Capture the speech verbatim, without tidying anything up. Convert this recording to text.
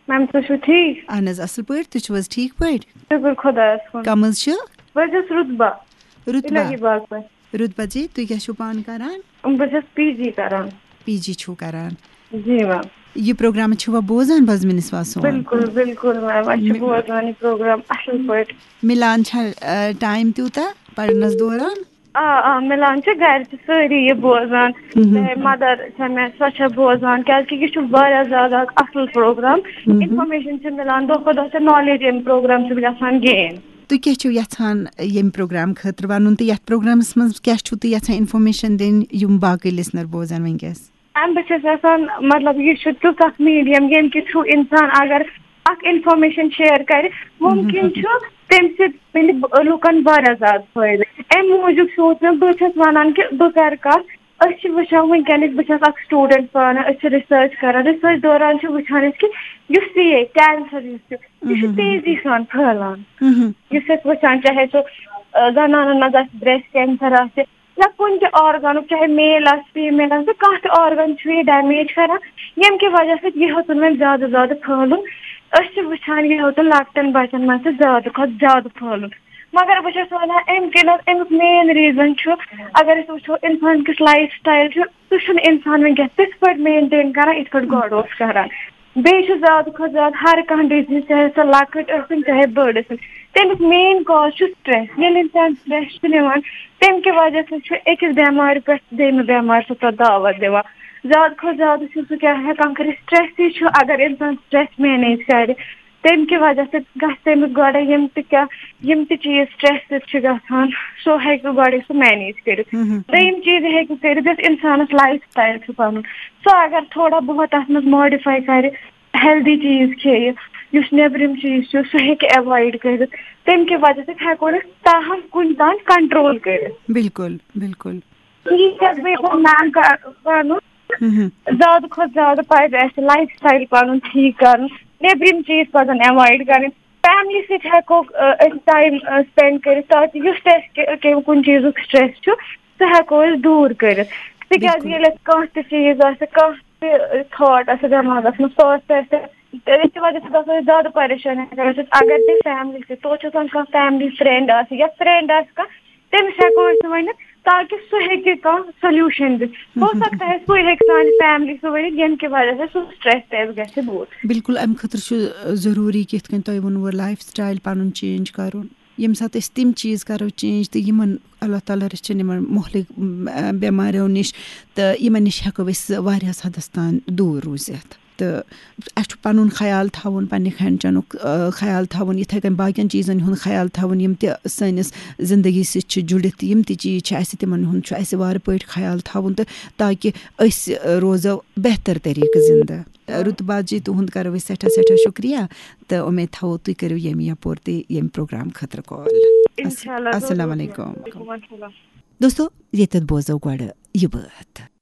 میم، تُہۍ چھِو ٹھیٖک؟ اہن حظ، اصل پٲٹھۍ۔ تُہۍ چھِو حظ ٹھیٖک پٲٹھۍ؟ شُکُر خۄدایَس کُن۔ کَم حظ چھِ؟ بہٕ حظ چھَس رُتبہ۔ رُتبہ۔ اِلہی باغ پٮ۪ٹھ۔ رُتبہ جی، تُہۍ کیٛاہ چھِو پانہٕ کران؟ بہٕ چھَس پی جی کران۔ پی جی چھِو کران؟ جی میم۔ یہِ پروگرام چھِوا بوزان بزمِ نسواں سون؟ بِلکُل، بِلکُل میم، أسۍ چھِ مِ- بوزان یہِ پروگرام اصل پٲٹھۍ۔ مِلان چھا، آ، ٹایم تیوٗتاہ پرنس دوران؟ آ، آ، مِلان چھِ، گرِ چھِ سٲری یہِ بوزان۔ مہم۔ چاہے مدر چھےٚ مےٚ، سۄ چھےٚ بوزان، کیازِ کہِ یہِ چھُ واریاہ زیادٕ اکھ اصل پروگرام۔ مہم۔ انفارمیشن چھِ مِلان، دۄہ کھۄتہٕ دۄہ چھِ نالیج امہِ پروگرام سۭتۍ گژھان گین۔ تُہۍ کیٛاہ چھِو یژھان ییٚمہِ پروگرام خٲطرٕ ونُن تہٕ یتھ پروگرامس منٛز کیٛاہ چھِو تُہۍ یژھان انفارمیشن دِنۍ یِم باقٕے لسنر بوزن وٕنکیٚس؟ میم، بہٕ چھَس یژھان، مطلب، یہِ چھُ تیُتھ اکھ میٖڈیم، ییٚمہِ کہِ تھرٛوٗ اِنسان اگر اکھ انفارمیشن شیئر کرِ، مُمکِن چھُ تَمہِ سۭتۍ مِلہِ لُکن واریاہ زیادٕ فٲیدٕ۔ اَمہِ موٗجوٗب سوٗنچ مےٚ، بہٕ چھَس وَنان کہِ بہٕ کرٕ کَتھ۔ أسۍ چھِ وٕچھان وٕنکیٚنٕکۍ، بہٕ چھَس اکھ سٹوٗڈنٹ پانہٕ، أسۍ چھِ ریسرچ کران، ریسرچ دوران چھِ وٕچھان أسۍ کہِ یُس تہِ یہِ کینسر یُس چھُ، یہِ چھُ تیزی سان پھٔہلان۔ یُس أسۍ وٕچھان، چاہے سُہ، آ، زنانن منٛز آسہِ، بریسٹ کینسر آسہِ، یا کُنہِ تہِ آرگنُک، چاہے میل آسہِ، فیمیل آسہِ، کانٛہہ تہِ آرگن چھُ یہِ ڈیمیج کران، ییٚمہِ کہِ وجہ سۭتۍ یہِ ہیوٚتُن وۄنۍ زیادٕ زیادٕ پھٔہلُن۔ أسۍ چھِ وٕچھان، یہِ ہیوٚتُن لۄکٹٮ۪ن بچن منٛز تہِ زیادٕ کھۄتہٕ زیادٕ پھٔہلُن۔ مگر بہٕ چھَس وَنان، اَمہِ کِنۍ حظ، اَمیُک مین ریٖزن چھُ، اگر أسۍ وٕچھو، اِنسان کِس لایف سٹایل چھُ، سُہ چھُنہٕ اِنسان وٕنکیٚس تِتھ پٲٹھۍ مینٹین کران، یِتھ پٲٹھۍ گۄڈٕ اوس کران۔ بیٚیہِ چھُ زیادٕ کھۄتہٕ زیادٕ ہر کانٛہہ ڈِزیٖز، چاہے سۄ لۄکٕٹ ٲسِن، چاہے بٔڑ ٲسِن، تَمیُک مین کاز چھُ سٹریس۔ ییٚلہِ اِنسان سٹریس چھُ نِوان، تَمہِ کہِ وجہ سۭتۍ چھُ أکِس بٮ۪مارِ پٮ۪ٹھ دوٚیمہِ بٮ۪مارِ سُہ پَتہٕ دعوت دِوان۔ زیادٕ کھۄتہٕ زیادٕ چھُ سُہ کیٛاہ ہٮ۪کان کٔرِتھ؟ سٹریسٕے چھُ، اگر اِنسان سٹریس مینیج کَرِ، تَمہِ کہِ وجہ سۭتۍ گژھِ تٔمِس گۄڈَے یِم تہِ کیٛاہ، یِم تہِ چیٖز سٹریس سۭتۍ چھِ گژھان، سُہ ہیٚکہِ گۄڈَے سُہ مینیج کٔرِتھ۔ مہم۔ دوٚیِم چیٖز ہیٚکہِ کٔرِتھ، یُس اِنسانَس لایف سٹایل چھُ پَنُن، سُہ اگر تھوڑا بہت اَتھ منٛز ماڈِفاے کَرِ، ہیلدی چیٖز کھیٚیہِ، یُس نیٚبرِم چیٖز چھُ، سُہ ہیٚکہِ ایوایڈ کٔرِتھ۔ تَمہِ کہِ وجہ سۭتۍ ہٮ۪کو نہٕ تاہم کُنہِ تام کنٹرول کٔرِتھ۔ بِلکُل، بِلکُل۔ یی چھَس بہٕ یَژھان میم کا-، وَنُن۔ مہم۔ زیادٕ کھۄتہٕ زیادٕ پَزِ اَسہِ لایف سٹایل پَنُن ٹھیٖک کَرُن، نیٚبرِم چیٖز پَزَن ایوایڈ کَرٕنۍ۔ فیملی سۭتۍ ہٮ۪کو، آ، أسۍ ٹایم، آ، سپینڈ کٔرِتھ، تاکہِ یُس تہِ اَسہِ کہِ-، کہِ-، کُنہِ چیٖزُک سٹریس چھُ، سُہ ہٮ۪کو أسۍ دوٗر کٔرِتھ۔ تِکیٛازِ بِلکُل۔ ییٚلہِ اَسہِ کانٛہہ تہِ چیٖز آسہِ، کانٛہہ تہِ تھاٹ آسہِ دٮ۪ماغَس منٛز، سُہ آسہِ اَسہِ، تَمہِ کہِ وجہ سۭتۍ گژھو أسۍ زیادٕ پریشان ہٮ۪کان ٲسِتھ۔ اگر تہِ فیملی سۭتۍ، توتہِ چھُ آسان کانٛہہ فیملی فرینڈ آسہِ یا فرینڈ آسہِ کانٛہہ، تٔمِس ہٮ۪کو أسۍ ؤنِتھ، تاکہِ سُہ ہیٚکہِ کانٛہہ سولوٗشن دِتھ۔ ہو سکتا ہے، سُے ہیٚکہِ سانہِ فیملی سُہ ؤنِتھ، ییٚمہِ کہِ وجہ سۭتۍ سُہ سٹریس تہِ اَسہِ گژھِ دوٗر۔ بِلکُل، اَمہِ خٲطرٕ چھُ ضروٗری کہِ یِتھ کٔنۍ تۄہہِ ووٚنوُ، لایف سٹایل پَنُن چینج کَرُن۔ ییٚمہِ ساتہٕ أسۍ تِم چیٖز کَرو چینج تہٕ یِمَن اللہ تعالیٰ رٔچھِنۍ یِمَن مُہلِک، م، بٮ۪ماریو نِش، تہٕ یِمَن نِش ہٮ۪کو أسۍ واریاہَس حدَس تام دوٗر روٗزِتھ۔ تہٕ اَسہِ چھُ پَنُن خیال تھاوُن، پنٛنہِ کھٮ۪ن چٮ۪نُک، آ، خیال تھاوُن، یِتھَے کٔنۍ باقیَن چیٖزَن ہُنٛد خیال تھاوُن، یِم تہِ سٲنِس زِندگی سۭتۍ چھِ جُڑِتھ، یِم تہِ چیٖز چھِ اَسہِ، تِمَن ہُنٛد چھُ اَسہِ وارٕ پٲٹھۍ خیال تھاوُن، تہٕ تاکہِ أسۍ، آ، روزو بہتر طریٖقہٕ زِندٕ۔ آ، رُتبہ جی، تُہُنٛد کَرو أسۍ سٮ۪ٹھاہ سٮ۪ٹھاہ شُکریہ، تہٕ اُمید تھاوو تُہۍ کٔرِو ییٚمہِ یَپور تہِ ییٚمہِ پروگرام خٲطرٕ کال۔ اِنشاءاللہ، السلام ضروٗر۔ علیکُم۔ وعلیکُم السلام۔ دوستو، ییٚتٮ۪تھ بوزو گۄڈٕ یہِ بٲتھ۔